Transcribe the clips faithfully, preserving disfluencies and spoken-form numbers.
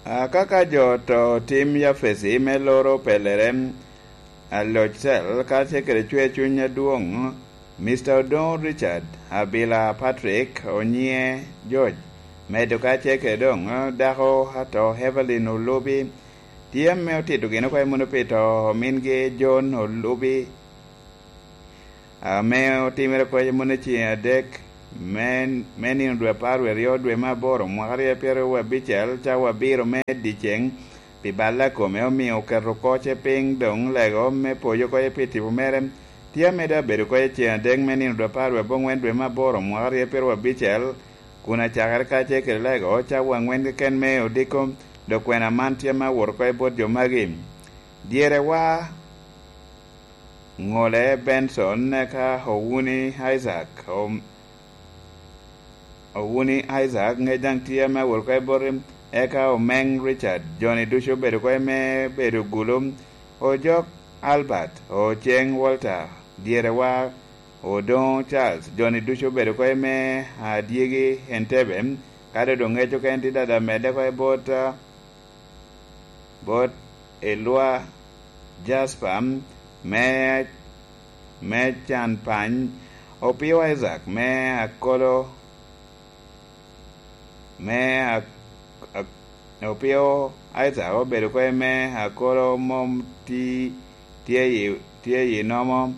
Akaka jo to tim Yafesi me loro pelere, aloc cel kacel kede cwer cuny adwoŋ, Mister Odoŋo Richard Abila Patrick onyiŋe George, medo kacel kede doŋ dako ato Evelyn Olubi, tye ame otito gin oko i munu pi to omingi John Olubi, ame otimere kweco moni ceŋ adek me, me nino dwe apar wie aryo dwe me aboro mwaka aryo pyeraryo abicel, cawa abiro me dyeceŋ, pi balla kome omio oketo koce piny doŋ lego me poyo koce pi tipo mere. Tye amedde abedo koce ceŋ adek me nino dwe apar wie aboŋwen dwe me aboro mwaka aryo pyeraryo abicel, kun acakere kacel kede lego cawa aŋwen keken me odiko, dok kwena man tye ame awoto koce bot jo magi. Dyerewa Ŋole Benson, eka Owuni Isaac, Om-, Owuni Isaac, ŋec daŋ tye ame awot oko i boti, eka Omeŋ Richard, joni ducu obedo oko i me bedo gulu, Ojok Albert, Oceng Walter, dyerewa, Odoŋo Charles, joni ducu obedo oko i me adyegi Entebbe, ka doŋ ŋec okene tye dada medde oko i bot, bot Elwa Jasper me, me can pany, Opio Isaac me Akolo, me Ak-, Ak-, Opio Isaac obedo kwe me Akolo mom ti-, tye i, tye i nomo,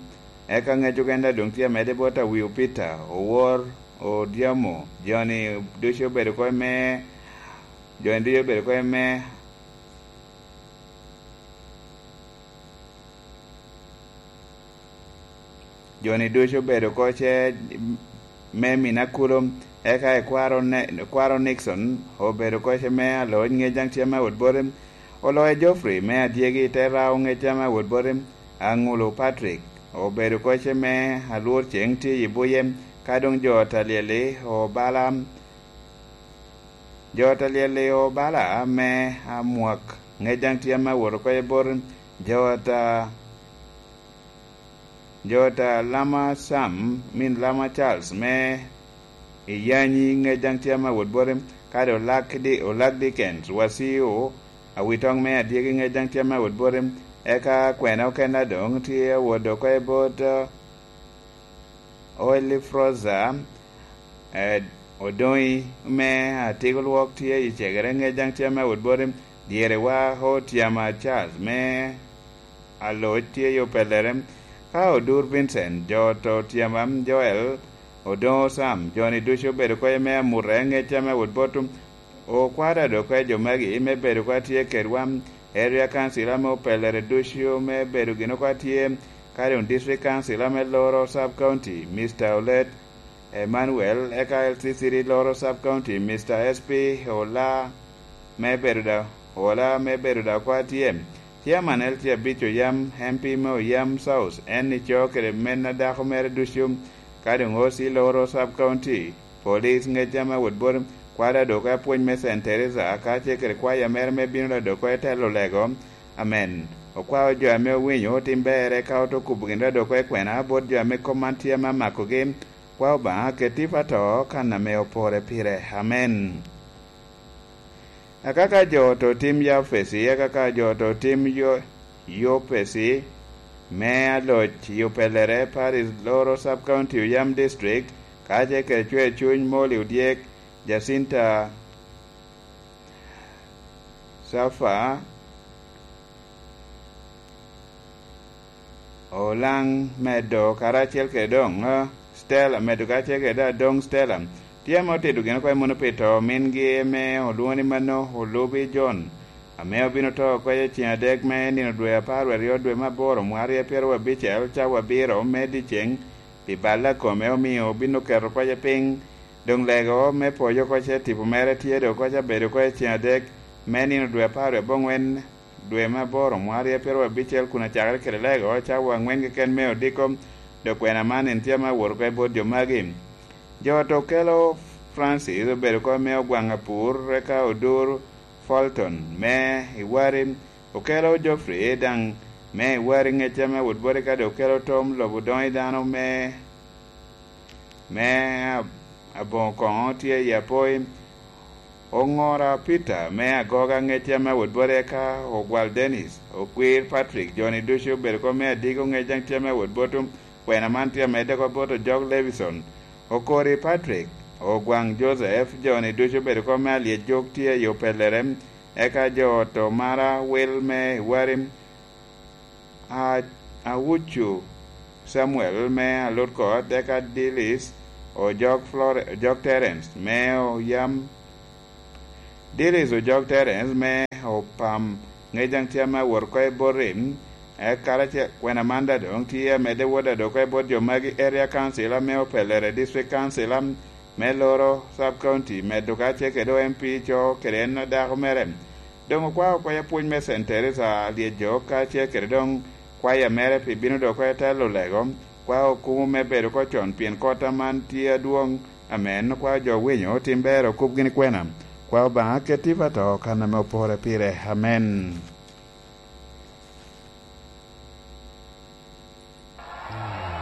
eka ŋec okene doŋ tye amedde bot Awio Peter, Owor Odyamo, joni ducu obedo kwe me, joni ducu obedo kwe me Joni ducu obedo koce me Minakulu, eka i kwaro Ne-, kwaro Nixon obedo koce me aloc, ŋec daŋ tye me awot boti, Oloya Geoffrey me adyegi te rao, ŋec tye me awot boti, Aŋulu Patrick obedo koce me alwor ceŋ tye i buye, ka doŋ jo Talyeli obala, jo Talyeli obala me amwak, ŋec daŋ tye me awot oko i boti, jo ta Jo ta Lama Sam, min Lama Charles me Iyanyi, ŋec daŋ tye ame awot boti, kadi Olak Di-, Olak Dickens, Wasiu, Awitoŋ me adyegi, ŋec daŋ tye ame awot boti, eka kwena okene doŋ tye awot oko i bot, eh, Oil Froza, eh, Odoŋi me Atiko Lwok tye i cegere, ŋec daŋ tye ame awot boti, dyerewa Otyama Charles me Aloc tye i opellere, ka Odur Vincent, jo to Otyama Joel, Odoŋo Sam, joni ducu obedo koce me amute, ŋec ame awot boti, okwada dok koce jo magi me bedo oko atye kedwa, Area Council ame opellere ducu me bedo gin oko atye, ka doŋ District Council ame loro Sub County, Mister Olet, Emmanuel, eka L C City loro Sub County, Mister S P Ola me bedo da, Ola me bedo da oko atye, Chairman L C abic Oyam, M P me Oyam South, en ico kede men a dako mere ducu, ka doŋ O C loro Sub County, Police ŋec ame awot boti, kwada dok apwony me Saint Teresa, kacel kede kwaya mere me bino da dok oko i telo lego. Amen. Okwao jo ame owinyo otim berre ka oto kubo gin da dok oko i kwena bot jo ame kop man tye ame amakogi. Kwa Obaŋa, ket tipo ato kan ame opore pire. Amen. Akaka jo to tim Yafesi, akaka jo to tim yo-, Yopesi, me aloc i opellere, Paris loro Sub County Oyam District, kacel kede cwer cuny Molly Odyek, Jacinta Safa, Olaŋ medo karacel kede doŋ, eh, Stella, medo karacel kede adoŋ Stella. Tye ame otido gin oko i munu pi to mingi ame olwoŋo ni mano Olubi John, ame obino to oko i ceŋ adek me nino dwe apar wie aryo dwe me aboro mwaka aryo pyeraryo abicel, cawa abiro me dyeceŋ, pi balla kome omio obino keto koce piny. Doŋ lego me poyo koce tipo mere tye doŋ koce abedo oko i ceŋ adek me nino dwe apar wie aboŋwen dwe me aboro mwaka aryo pyeraryo abicel kun acakere kede lego cawa aŋwen keken me odiko, dok kwena man en tye ame awot oko i bot jo magi. Jo to okelo Francis obedo oko me Ogwaŋ Apur, eka Odur Fulton me Iwari, okelo Geoffrey daŋ me Iwari ŋec ame awot boti, ka dok okelo Tom lobo doŋ i dano me, me ab-, aboŋo koŋo tye i Apoi. Oŋora Peter me Agoga ŋec tye ame awot bot eka Ogwal Dennis, Okwir Patrick, jo-ni ducu obedo kop me Adigo ŋec daŋ tye ame awot bot Kwena man tye amedde oko bot Ojok Levison, Okori Patrick, Ogwaŋ Joseph, jo-ni ducu obedo kop me Alyec Jok tye i Opellere, eka jo ot Omara Wil me Iwari, A-, Awucu Samuel me Alutkot, eka Dilis Ojok Flore-, Ojok Terence me Oyam, Dilis Ojok Terence me Opam, ŋec daŋ tye ame awot oko i bot Rim, eka karacel Kwena Manda doŋ tye amedde wot ado oko i bot jo magi, Area Council ame Opellere, District Council am-, me Loro Sub County, medo kacel kede O M P co kede en dako mere. Doŋ okwao oko i apwony me Saint Teresa Alyejok kacel kede doŋ kwaya mere pi bino doŋ oko i telo lego, kwao okumo me bedo oko con pien kot aman tye adwoŋ, ame en okwao jo winyo otim ber okub gini kwena. Kwao Obaŋa ket tipo ato kan ame opore pire. Amen.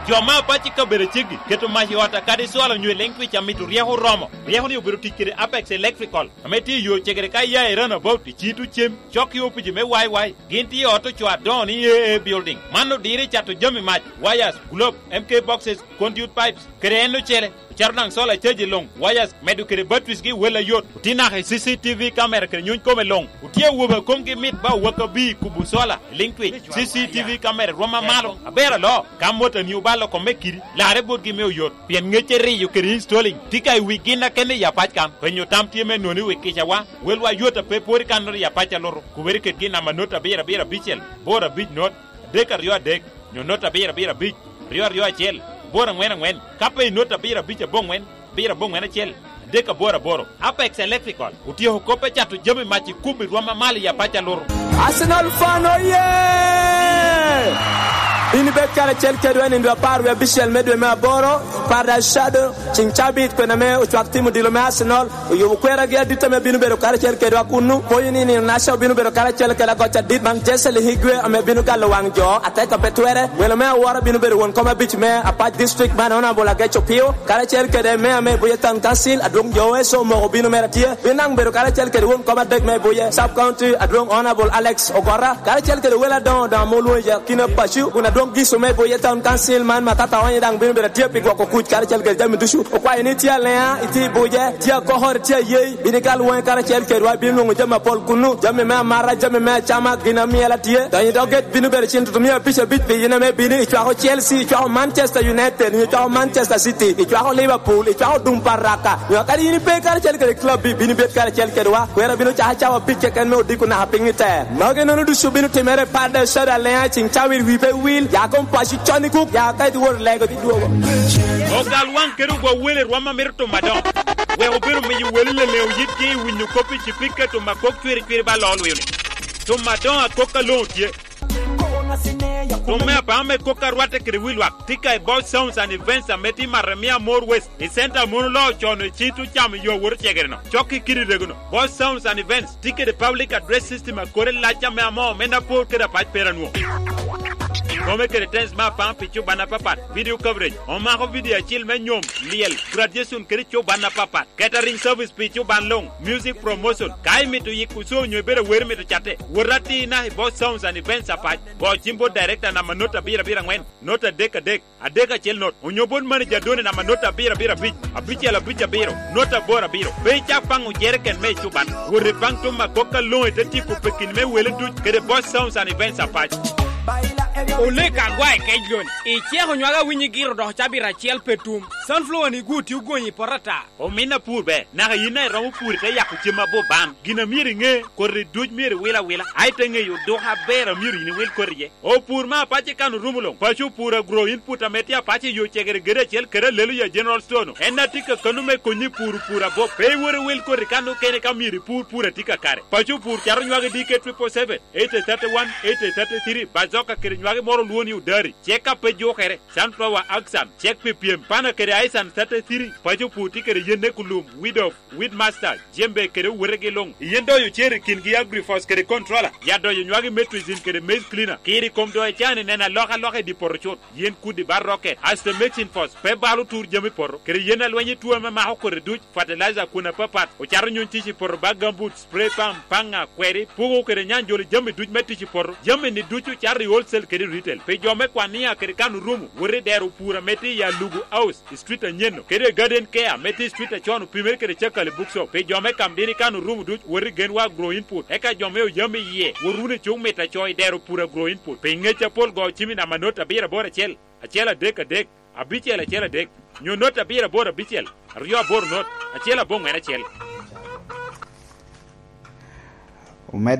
Jo me apac i kabedo ceggi keto mac i ot akadi cwalo onyo i liŋ twic amito ryeko oromo. Ryeko-ni obedo tic kede Apex Electrical, ame tye i yo cegere ka iya i Runabout, i Citu Cem, cok i opici me Y Y. Gin tye i ot ocoo adoŋo ni A A Building. Man odiro i cato jami mac, wires, globe, M K boxes, conduit pipes, kede en ocele. Ocato daŋ solar caji luŋ, wires, medo kede batteries gi wel ayot. Otye naka i C C T V camera kede nyony kome luŋ. Otye awobe a komgi mit ba owak abir kubo solar i liŋ twic. C C T V camera rwom amalo, aber aloo. Ka motoni obalo kome kidi, larre botgi me oyot. Pien ŋecce riyo kede installing tye ka i wi gin akene i apac kan. Penyo tam tye me noni wi kicawa, welwa yot a pe pwod i kannoro i apac alutu. Kubere kedgi namba not abiro abiro abicel, boro abic not, adek aryo adek, nyo not abiro abiro abic, aryo aryo acel, boro aŋwen aŋwen, ka pe i not abiro abic aboŋwen, abiro aboŋwen acel, adek aboro aboro. Apex Electrical otyeko kop me cato jami mac i kum i rwom amalo i apac alutu. Arsenal fan oye! Bin ibed karacel kedwa i nindo apar wie abicel me dwe me aboro, Paradise Shadow, ceng cabit kwena me ocwak tim odilo me Arsenal, oyubo kweragi adit ame bino bedo karacel kedwa kunnu. Pwonyo ni nino naca obino bedo karacel kede agoc adit, Manchester Higuain ame bino galo waŋ jo, ateka pe twere. Welo me awora bino bedo won kom abic me Apac District, man Honorable Agec Opio, karacel kede Mayor me Buye Town Council, Adwong Joe Eso omoko bino mere tye. Bin daŋ bedo karacel kede won kom adek me Buye Sub County, Adwong Honorable Alex Ogora, karacel kede welo adoŋo doŋo ame olwoŋo i akina paco, kun Adwong Giso me Buye Town Council, man Matata Onyo daŋ bino bedo tye pi gwoko kuc karacel kede jami ducu. Okwayo ni tye Alea, itye i Buje, tye Akokor, tye Ayei, bino ikal waŋi karacel kedwa, ibino nwoŋo jami apol kunnu, jami me amata, jami me acama, gin amyel atye. Donyo i dog gate bino bedo cen tutumia abic abic pi in ame bino, icwako Chelsea, icwako Manchester United, nyo icwako Manchester City, icwako Liverpool, icwako dum pa Raka. Nyo kadi in ipe karacel kede club, bino ibed karacel kedwa. Kwera bino cako cawa abic keken me odiko naka piny i te. Magi nono ducu bino timere i Paradise Shadow Alea, ceng cawa i wi pe wil, ya kom paco con i kuk, ya ka idwor lego idwogo. Ogal waŋ kede ogwa wele rwam a mito timo adoŋo. Wek obed omiyo wele leleŋo yitgi i winyo kop i cipika tuma kok cwiri cwiri ba loo lwio-ni. Tuma adoŋo akok aloŋo tye. Tuma me apaŋo me kok a rwatte kede wi lwak tye ka i Boss Sounds and Events ame tye i Maremia More West, i center a mon oloo con i cit ocamo yo awot ocegere-no. Cok i kidi rego-no. Boss Sounds and Events tye kede public address system a kore lac ame amoo me Napor kede Apac Peranwo. Kome kede tens me apaŋo pi cuban apapat, video coverage, omako video acil me nyom, lyel, graduation kede cuban apapat. Catering service pi cuban luŋ, music promotion. Ka imito yiko co onyo ibedo awero mito catte, wot atir naka i Boss Sounds and Events Apac. Go cim bot director namba not abiro abiro aŋwen, not adek adek, adek acel not, onyo bot manager Doni namba not abiro abiro abic, abicel abic abiro, not aboro abiro. Pe icak paŋo jereken me cuban. Wot ipaŋ tuma kok aloŋo ite tyeko pekini me wele duc kede Boss Sounds and Events Apac. Oleka agwa i kec loni. Iceko nywaka winyi giro dok cabit acel pe tum. Sunflower ni gu tye ogonyi i poto ata. Omin apur ber, naka yin a iromo pur ite yako cem abor ban. Gin a myero iŋe, koti duc myero iwil awila, a ite ŋeyo duka aber a myero yin iwil koti iye. Opur me apac i kan orumo luŋ, paco opur agro input ame tye apac i yo cegere gede acel kede alelo ya General Store-nu. En a tye ka kano me konyi pur opur abop. Pe iwot iwil koti kan okene ka myero ipur pur a tye kakare. Paco opur cato nywagi D K triple seven, eight thirty-one, eight thirty-three, Bazo Oka kede nywagi moro olwongo ni odari, cek a pe jukere, sunflower axan, cek pi pyem, pana kede aisan thirty-three, paco pur tye kede yen ekulum, weed of, weed master, jembe kede owetegi luŋ. Yen doyo cer i kingi agrifos kede controller, ya doyo nywagi metrizin kede maize cleaner, kiri kom doyo cani neno alokaloka i di poto cut. Yen kudi ba rocket, aste mexin fos, pe balo tur jami poto, kede yen alweny i tuo ame mako kodi duc, fertilizer kun apapat, ocato nyuny tic i poto ba gambut, spray pump, paŋa, kweri, pugo kede nyanjolo jami duc me tic i poto. Jami ni ducu cato i wholesale kede retail. Pi jo me kwania kede kan orumo, wot i dero pur ame tye i Alugu House, i street anyeno, kede Garden Care ame tye i street acon opimere kede Cakali Bookshop. Pi jo me kam dini kan orumo duc, wot i Genwa Agro Input. Eka jo me oyam i yie, wot wunu i cuk mit aco i dero pur Agro Input. Pi ngec apol go cimi namba not abiro aboro acel, acel adek adek, abicel acel adek, nyo not abiro aboro abicel, aryo aboro not, acel aboŋwen acel. Omed